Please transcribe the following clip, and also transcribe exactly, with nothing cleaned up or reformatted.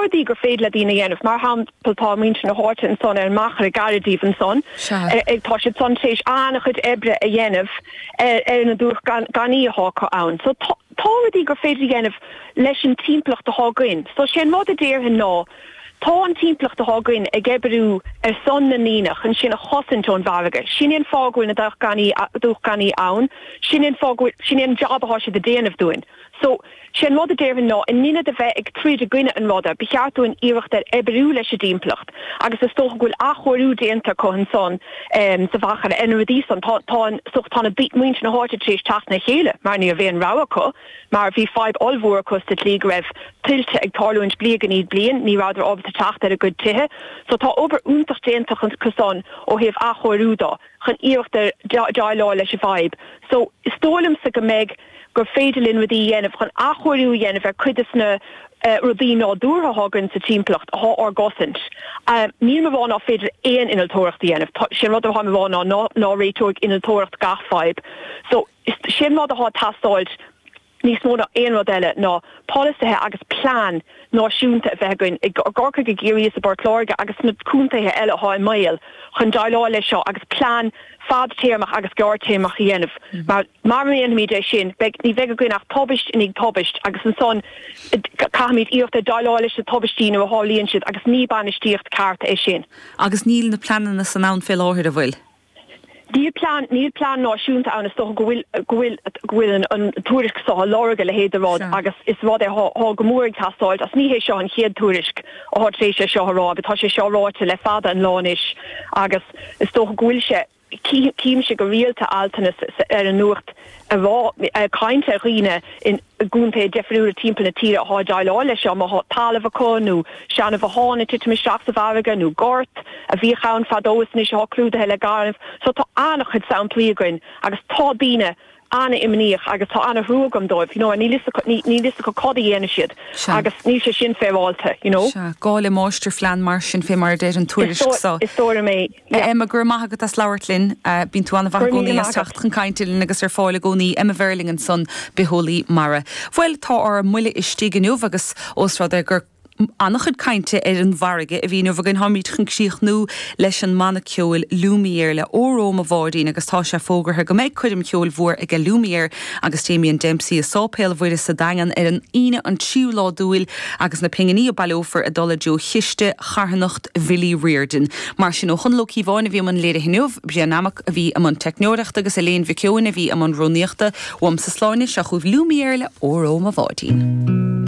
rudaí gur féidir le daoine a dhéanamh, mar shampla tá muintir na háite ansan ar an Machaire gar daoibh ansan, ag tá siad san tar éis an-chuid oibre a dhéanamh ar ar na dumhcha gainimh atá acu ann. So tá tá rudaí gur féidir a dhéanamh leis an timpeallacht atá againn. So sé an rud a déarfainn ná tá an timpeallacht atá againn ag oibriú ar son na ndaoine chun sinn a chosaint ón bhfarraige. Sin é an fáth go bhfuil na dumhcha gainimh ann, sin é an fáth go bhfuil sin é an job atá siad a déanamh dúinn. So sé an rud a déarfainn ná in ionad a bheith ag troid i gcoinne an ruda, ba cheart dúinn iarracht ar oibriú leis an dtimpeallacht agus is dócha go bhfuil athchóiriú déanta acu ansan um, sa Mhachaire ar na rudaí san tá tá so tá na muintir na háite tar éis teacht le chéile mar ní raibh aon rogha acu mar bhí fadhb ollmhór acu sa tslí go raibh tuilte ag tarlúint bliain i ndiaidh bliain ní rabhadar ábalta teacht ar a gcuid tithe. So tá obair iontach déanta acu san ó thaobh athchóiriú de chun iarracht ar déileáil leis an bhfadhb. So is dóigh liomsa go mbeidh gur féidir linn rudaí a dhéanamh chun athchóiriú a dhéanamh ar cuid de na uh, rudaí nádúrtha atá againn sa timpeallacht atá ár gcosaint. Uh, Níl mé ag rá nach féidir aon innealtóireacht a dhéanamh sin rud atá mé ag rá ná ná ná réiteoidh innealtóireacht gach fadhb. So sin rud atá ag teastáil níos mó ná aon rud eile ná polasaithe agus plean náisiúnta a bheith againn i gCorcaigh i gCiarraí is i bPort Láirge agus na contaetha eile atá i mbaol chun déileáil leis seo agus plean fadtéarmach agus gearrtéarmach a dhéanamh. Mm. Mar mar dhéanaimid é sin beidh ní bheidh againn ach tubaist i ndiaidh tubaist agus ansan caithfimid iarracht ar déileáil leis na tubaistí nuair a tharlaíonn siad agus ní bainistíocht ceart é sin. Agus níl na pleananna san ann fé láthair an bhfuil. Níl plean níl plean náisiúnta ann is dócha go bhfuil go bhfuil go bhfuil an, an tuairisc seo á lorg a leithéid de rud agus is rud é atá go mór ag teastáil as ní hé seo an chéad tuairisc atá tar éis é seo a rá, tá sé seo ráite le fada an lá anois agus is dócha go bhfuil sé címse go rialta altanna ar an nuacht a rá caint ar dhaoine in gcontaetha difriúla timpeall na tíre atá ag déileáil leis seo má tá talamh acu nó seanbhotháin ag titim isteach sa bhfarraige nó gort a bhíodh ann fadó is anois atá clúdaithe le gaineamh. So tá an-chuid samplaí againn agus tá daoine an-imníoch agus tá an-thrua agam dóibh, you know, níl a fhios acu cad a dhéanfaidh siad agus níl sé sin féaráilte, you know. Sea, gá le máistirphlean mar sin fé mar a deir an tuairisc seo. Is dóigh liom é, yeah. Emma, go raibh maith agat as labhairt linn. Bíonn tú an-mhaith i gcónaí as teacht chun cainte linn agus ar fáil i gcónaí. Emma Verling ansan, bitheolaí mara. Bhuel, tá ár mbuille istigh inniu agus ós rud é gur an-chuid cainte ar an bhfarraige a bhí inniu againn. Táimid chun críochnú leis an mbanna ceoil Lumière le Óró Mo Bháidín agus tá sé fógartha go mbeidh coirm cheoil mhór ag Lumière agus Damien Dempsey i Sáipéal Mhuire sa Daingean ar an Aoine an tríú lá d'Iúil agus na pinginí a baileofar ag dul i dtreo chiste charthanacht Bhilly Riordan. Mar sin ó Chonall Ó Cíobháin a bhí i mbun léirithe inniu, Brian Nammock a bhí i mbun teicneoireachta agus Elaine Mhic Eoin a bhí i mbun rúnaíochta. Uaimse Sláine, seo chugaibh Lumière le Óró Mo Bháidín.